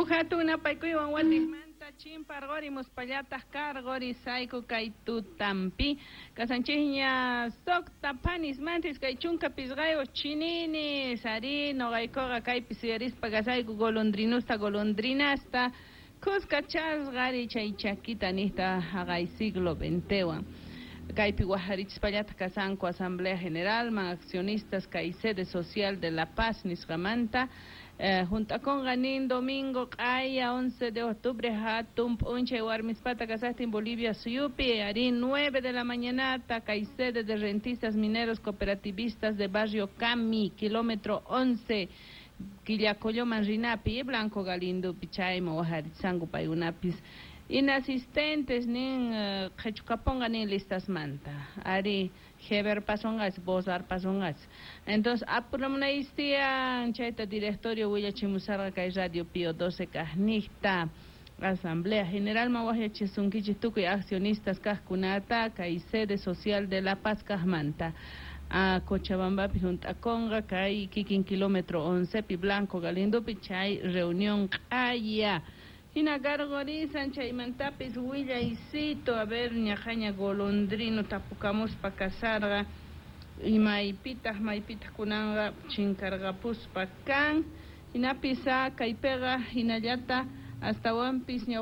Huk hatun napaykuywan watiqmanta chimparqurimuspallataq karqurisayku kay tutampi kasanchikña suqta phanismantis kay 15 chininis ari nuqaykuqa kaypi suyarispa kasayku golondrinusta golondrinasta kuskachasqa chay chakita niqta haqay siglo XXwan kaypi waqharichispallataq kasanku Asamblea Generalman accionistas kay sede social de La Paz nisqamanta hunt'akunqa nin domingo q'aya 11 de octubre hatun p'unchay warmispata kasaqtin Bolivia suyupi ari 9 de la mañanata kay sede de rentistas mineros cooperativistas de barrio Cami kilómetro 11 Quillacolloman rinapi Blanco Galindopi chayman waqharichisqanku paykunapis inasistentes nin qhichkapunqa nin listasmanta ari Heber pasonqas Bozar pasonqas entonces apuramunaystiyan chayta directorio willachimusarqa kay Radio Pío 12 kaqniqta Asamblea Generalman waqyachisunkichik tukuy accionistas kaqkunata kay sede social de La Paz kaqmanta a Cochabambapi hunt'akunqa kay kikin kilómetro 11 pi Blanco Galindopi chay reunión q'aya hina karqurisan chaymantapis willaycito a ver ñaqaña golondrino tapukamuspa kasarqa imaypitaq maypitaq kunanqa chinkarqapuspa kan hinapis kaypiqa hinallata astawanpis ñawpa.